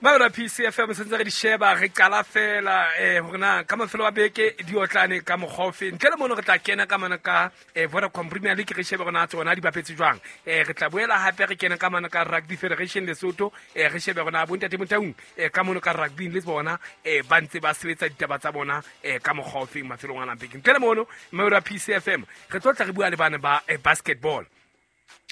Maora PCFM sentse re di sheba re qala fela hore na ka mafelo a beke di otlane ka mokgwa ofe. Ntle le mono re tla kena ka mana ka Vodacom Premier League re shebe hore na tsona di bapetse jwang. Re tla boela hape re kene ka mana ka Rugby Federation Lesotho re shebe hore na bontate Motaung ka mono ka rugby le bona ba ntse ba sebetsa ditaba tsa bona ka mokgwa ofeng mafelong a beke. Ntle le mono Maora PCFM re tlo tla re bua le bana ba basketball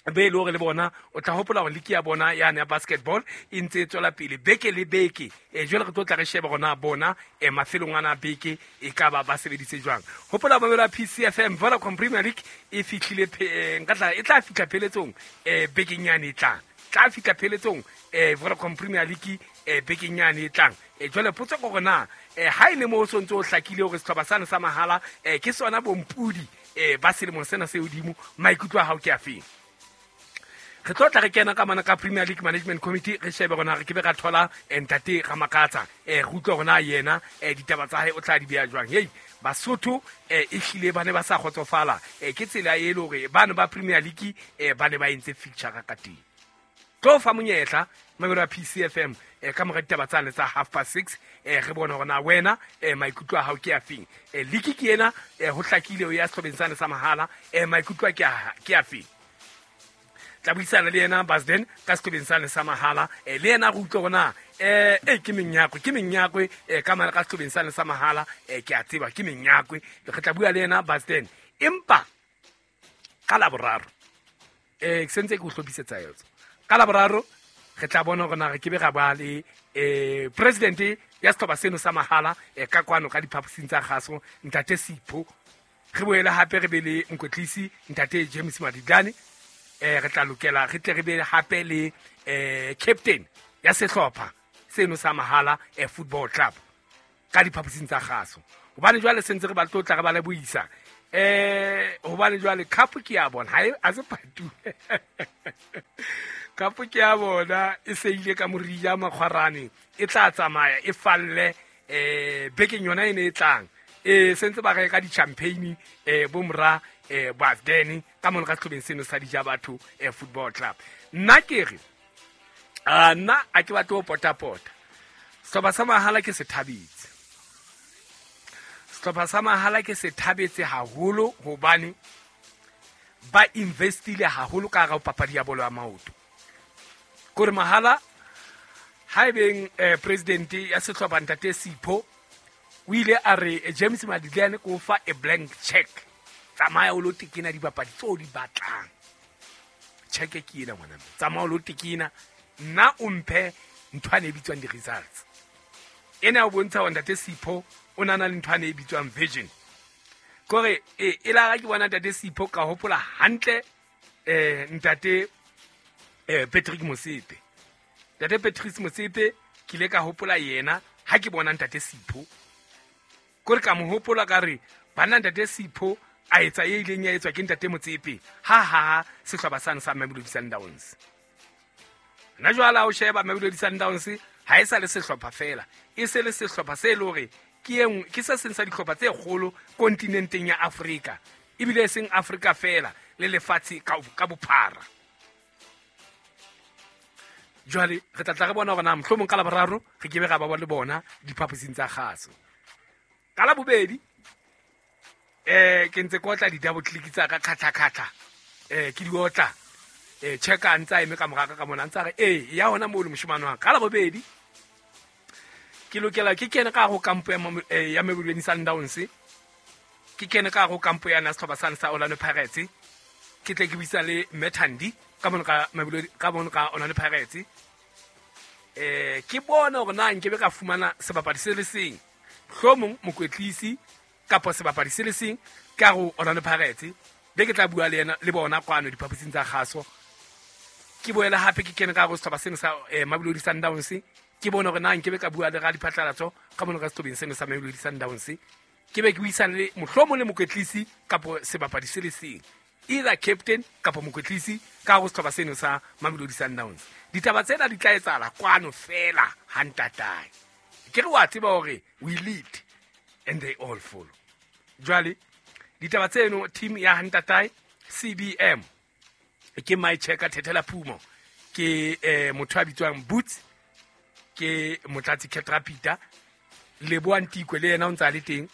be e le hore le bona o tla hopola hore liki ya bona yane ya basketball e ntse e tswela pele beke le beke. Jwale re tlo tla re shebe hore bona mafelong ana beke e ka ba ba sebeditse jwang. Hopola mamelo ya PCFM Vodacom Premier League e fihlile nka tla e tla fihla pheletsong bekeng yane e tlang. Tla fihla pheletsong Vodacom Premier League bekeng yane e tlang. Jwale potso ke hore na ha e le mo o sontse o hlakile hore sehlopha sane sa mahala ke sona bompudi ba selemo sena se hodimo, maikutlo a hao ke a feng? Re tlo tla re kena ka mana ka Premier League Management Committee re shebe rona re ke be ra thola ntate Ramakatsa re utlwe rona yena ditaba tsa hae o tla di beha jwang. Hei Basotho e hlile ba ne ba sa kgotsofala ke tsela e le hore bano ba Premier League ba ne ba entse fixture ka teng. Tlo fa monyetla mamelo ya PCFM ka mora ditaba tsane tsa 6:30 re bone hore na wena maikutlo a hao ke a feng. League ke ena ho hlakile o ya sehlobeng sane sa mahala maikutlo a ke a feng. Tla buisana le yena Basden ka sehlobeng sane sa mahala le yena re utlwe hore na ke menyakwe ka mara ka sehlobeng sane sa mahala ke a tseba ke menyakwe. Re tla bua le yena Basden empa ka Laboraro ke sentse ke o hlophisetsa yotso. Ka Laboraro re tla bona hore na re ke be ra ba le president ya sehlopha seno sa mahala ka kwano ka diphaposing tsa kgaso ntate Sipho. Re boele hape re be le mokwetlisi ntate James Maditlane. Re tla lokela re tle re be hape le captain ya sehlopha seno sa mahala football club ka diphaposing tsa kgaso. Hobane jwale sentse re ba tlotla re ba lebohisa hobane jwale cup ke ya bona ha e a se patu. Cup ke ya bona e se ile ka morija makgwarane e tla tsamaya e falle bekeng yona e ne e tlang. Sentse ba reka di-champagne bo mora Basden ka mona ka sehlobeng seno sa dija batho football club. Nna ke re nna a ke batle ho potapota. Sehlopha sa mahala ke se thabetse. Sehlopha sa mahala ke se thabetse haholo hobane ba investile haholo ka hara papadi ya bolo ya maoto. Kore mahala haebeng president ya sehlopha ntate Sipho o ile a re James Maditlane ko fa a blank check. Tsamaya o lo tekena dibapadi tseo di batlang. Check ke ena ngwana. Tsamaya o lo tekena nna o mphe ntho e bitswang di-results. Ena o bontsha hore ntate Sipho o na le ntho e bitswang vision. Kore e la ke bona ntate Sipho ka hopola hantle ntate Patrick Motsepe. Ntate Patrick Motsepe ke ile ka hopola yena ha ke bona ntate Sipho. Kore ka mo hopola ka re bana ntate Sipho a etsa e ileng ya etswa ke ntate Motsepe ha ha sehlopha sane sa Mamelodi Sundowns. Nna jwale ha o sheba Mamelodi Sundowns ha e sa le sehlopha fela, e se le sehlopha se le hore ke engwe ke se seng sa dihlopha tse kgolo kontinenteng ya Afrika, ebile e seng Afrika fela le lefatshe ka bophara. Jwale re tla tla re bona hore na mohlomong ka Laboraro re ke be ra ba le bona diphaposing tsa kgaso. Ka Labobedi ke ntse ke otla di-double click tsa ka khatla-khatla ke di otla checka ntse a eme ka moraka ka mona ntse a re ya hona moo le moshemane wa ka. Labobedi ke lokela ke kene ka ho kampo ya Mamelodi Sundowns, ke kene ka ho kampo ya sehlopha sane sa Orlando Pirates, ke tle ke buisa le Methandi ka mono ka Mamelodi ka mono ka Orlando Pirates. Ke bona hore na nkebe ka fumana sebapadi se le seng, mohlomong mokwetlisi kapa sebapadi se le seng ka ho Orlando Pirates, be ke tla bua le yena le bona kwano diphaposing tsa kgaso. Ke boele hape ke kene ka ho sehlopha seno sa Mamelodi Sundowns, ke bone hore na nkebe ka bua le radiphatlalatso ka mono ka sehlobeng seno sa Mamelodi Sundowns, ke be ke buisane le mohlomong le mokwetlisi kapa sebapadi se le seng, either captain kapa mokwetlisi ka ho sehlopha seno sa Mamelodi Sundowns. Ditaba tsena di tla etsahala kwano fela ha ntatae. Ke re wa tseba hore we lead and they all follow. Jwale ditaba tseno team ya ha ntatae CBM ke my checker Thethela Phumo ke motho a bitswang Boots Ke Motlatsi Catrapita Leboa Ntikwe le yena o ntse a le teng,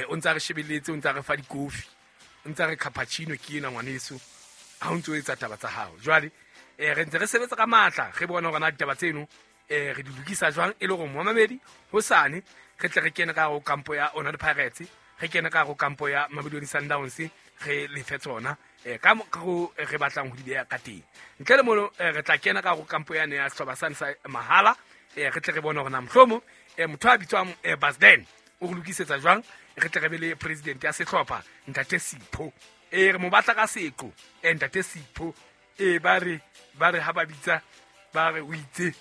o ntse a re shebelletse, o ntse a re fa dikofi, o ntse a re cappuccino ke ena ngwaneso ha o ntse o etsa taba tsa hao. Jwale re ntse re sebetsa ka matla, re bona hore na ditaba tseno re di lokisa jwang e le hore momamedi hosane re tle re kene ka hare ho kampo ya Orlando Pirates, re kene ka hare ho kampo ya Mamelodi Sundowns, re lefe tsona ka mokgwa re batlang ho di beha ka teng. Ntle le mono re tla kena ka hare ho kampo yane ya sehlopha sane sa mahala, re tle re bone hore na mohlomong motho a bitswang Basden o re lokisetsa jwang, re tle re be le president ya sehlopha Ntate Sipho. Re mo batla ka seqo, Ntate Sipho. Ba re ha ba bitsa ba re o itse,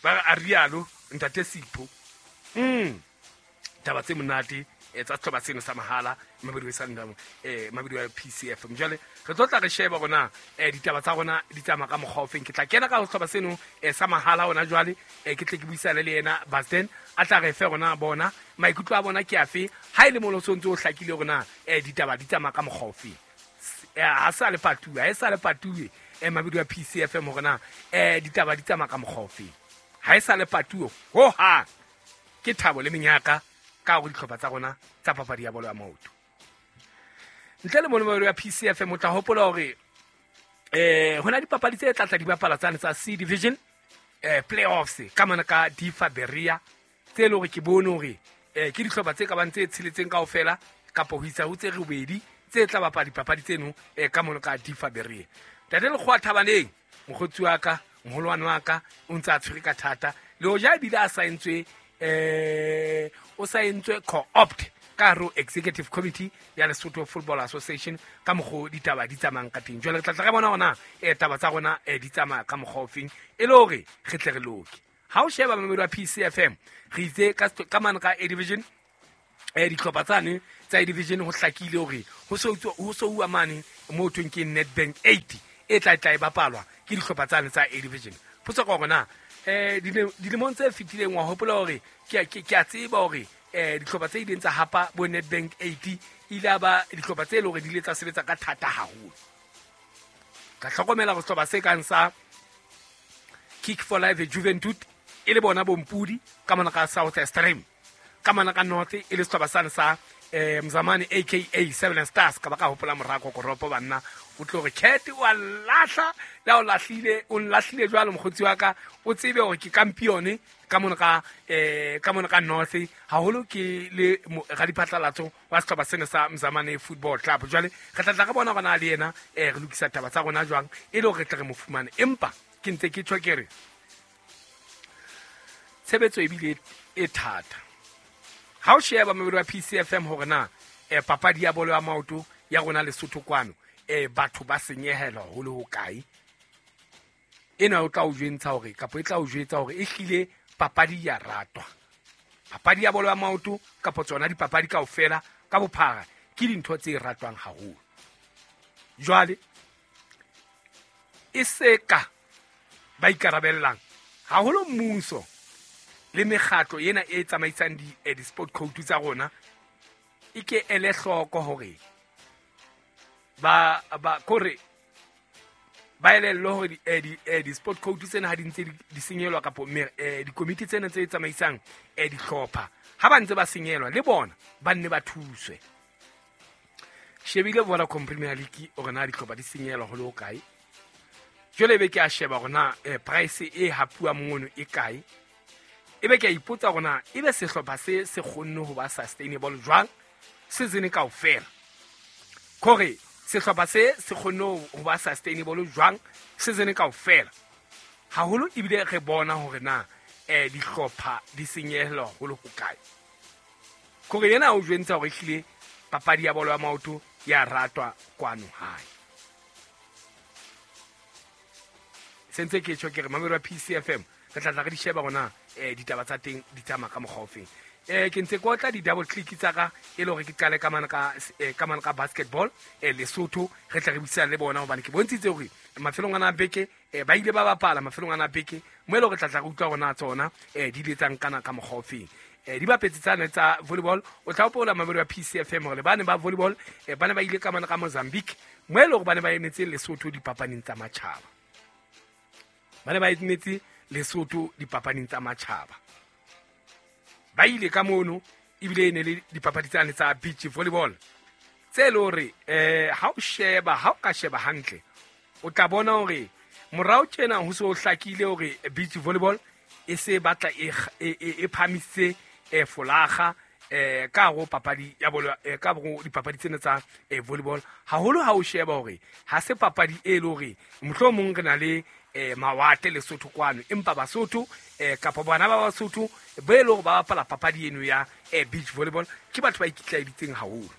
ba re a rialo Ntate Sipho. Taba tse monate tsa sehlopha seno sa mahala Mamelodi Sundowns, Mamelodi ya PCF. Jwale re tlo tla re sheba rona ditaba tsa rona di tsamaya ka mokgwa ofeng. Ke tla kena ka sehlopha seno sa mahala hona jwale, ke tle ke buisane le yena Basden, a tla re fe rona bona maikutlo a bona ke afe, ha e le mono so ntse o hlakile rona ditaba di tsamaya ka mokgwa ofeng. Ha sa le patuwe, ha e sa le patuwe Mamelodi ya PCF hore na ditaba di tsamaya ka mokgwa ofeng. Ha e sa le patuwe ho hang. Ke thabo le menyaka ka hore dihlopha tsa rona tsa papadi ya bolo ya maoto. Ntle le mono ya PCF, o tla hopola hore hona dipapadi tse tla tla di bapala tsane tsa C Division, playoffs ka mona ka Difa Berea, tse leng hore ke bone hore ke dihlopha tse ka bang tse tsheletseng kaofela kapa ho isa ho tse robedi tse tla bapala dipapadi tseno ka mona ka Difa Berea. Ntate Lekgowa Thabaneng, mokgotsi wa ka, moholwane wa ka, o ntse a tshwere ka thata le hoja ebile a saentswe, o saentswe co-opt ka hare ho Executive Committee ya Lesotho Football Association ka mokgwa ditaba di tsamayang ka teng. Jwale re tla tla re bona hore taba tsa rona di tsamaya ka mokgwa ofeng e le hore re tle re loke. Ha o sheba mamedi wa PCFM, re itse ka mane ka A Division, dihlopha tsane tsa A Division ho hlakile hore ho so uwa mane mo thweng ke Nedbank 8 e tla tla e bapalwa ke dihlopha tsane tsa A Division. Potso ke hore na dilemong tse fetileng wa hopola hore ke a tseba hore dihlopha tse ileng tsa hapa bo Nedbank 8 ile a ba dihlopha tse leng hore di ile tsa sebetsa ka thata haholo. Ka hlokomela hore sehlopha se kang sa Kick for Life Juventud e le bona bompudi ka mona ka South Extreme, ka mona ka North e le sehlopha sane sa Mzamane aka Seven Stars, ka ba ka hopola morako koropo banna o tlo re Cat wa lahla le o lahlile, o nlahlile jwalo mokgotsi wa ka, o tsebe hore ke kampione ka mona ka ka mona ka North haholo ke le radiphatlalatso wa sehlopha sena sa Mzamane Football Club. Jwale re tla tla re bona hore na le yena re lokisa taba tsa rona jwang e le hore re tle re mo fumane. Empa ke ntse ke tjho ke re tshebetso ebile e thata. Ha o sheba mamedi wa PCFM hore na papadi ya bolo ya maoto ya rona Lesotho kwano, batho ba senyehelwa ho le hokae, ena o tla o jwentsha hore kapa e tla o jwetsa hore e hlile papadi ya ratwa. Papadi ya bolo ya maoto kapa tsona dipapadi kaofela ka bophara ke dintho tse ratwang haholo. Jwale e se ka ba ikarabellang haholo mmuso le mekgatlo ena e tsamaisang di-sport code tsa rona e ke ele hloko hore ba kore ba elellwe hore di-sport code tsena ha di ntse di senyelwa kapo dikomiti tsena tse tsamaisang dihlopha ha ba ntse ba senyelwa le bona ba nne ba thuswe. Shebile Vodacom Premier League hore na dihlopha di senyelwa ho le hokae. Jwale ebe ke a sheba hore na price e hapuwa mono e kae. Ebe ke a ipotsa hore na ebe sehlopha se se kgonne ho ba sustainable jwang season kaofela. Kore sehlopha se se kgonne ho ba sustainable jwang season kaofela. Haholo ebile re bona hore na dihlopha di senyehelwa ho le hokae. Kore yena o jwentsa hore ehlile papadi ya bolo ya maoto ya ratwa kwano hae. Sentse ke tjho ke re mamedi wa PCFM re tla tla re di sheba rona ditaba tsa teng di tsamaya ka mokgwa ofeng. Ke ntse ke otla di-double click tsa ka e le hore ke qale ka mane ka basketball Lesotho, re tla re buisana le bona hobane ke bontshitse hore mafelong ana a beke ba ile ba bapala mafelong ana a beke mo e le hore tla tla re utlwa rona tsona di ile tsa nkana ka mokgwa ofeng. Di bapetse tsane tsa volleyball, o tla hopola mamedi wa PCFM hore ba ne ba volleyball ba ne ba ile ka mane ka Mozambique mo e le hore ba ne ba emetse Lesotho dipapading tsa matjhaba. Ba ne ba emetse Lesotho dipapading tsa matjhaba. Ba ile ka mono, ebile e ne le dipapadi tsane tsa beach volleyball tse le hore ha o sheba, ha o ka sheba hantle, o tla bona hore morao tjena ho se ho hlakile hore beach volleyball e se batla e phamisitse folaga ka hare ho papadi ya bolo, ka hare ho dipapadi tsena tsa volleyball. Haholo ha o sheba hore ha se papadi e le hore mohlomong re na le mawatle Lesotho kwano, empa Basotho kapa bana ba Basotho ba e le hore ba bapala papadi eno ya beach volleyball ke batho ba ikitlaeditseng haholo.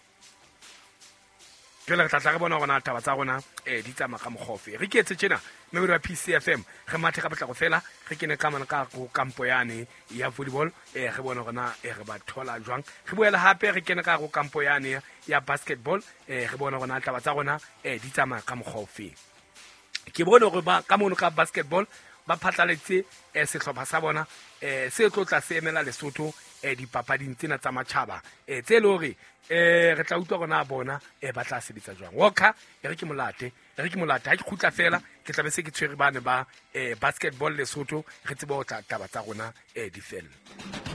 Jwale re tla tla re bona hore na taba tsa rona di tsamaya ka mokgwa ofe. Re ke etse tjena, mmamedi wa PCFM, re mathe ka potlako fela, re kene ka mane ka ho kampo yane ya volleyball, re bone hore na re ba thola jwang. Re boele hape re kene ka ho kampo yane ya basketball, re bone hore na taba tsa rona di tsamaya ka mokgwa ofe. Ke bone hore ba ka mono ka basketball ba phatlaletse sehlopha sa bona se tlo tla se emela Lesotho dipapading tsena tsa matjhaba, tse le hore re tla utlwa hore na bona ba tla sebetsa jwang. Walker, e re ke molate, e re ke molate. Ha ke kgutla fela, ke tla be se ke tshwere bane ba basketball Lesotho, re tsebe ho tla taba tsa rona di felle.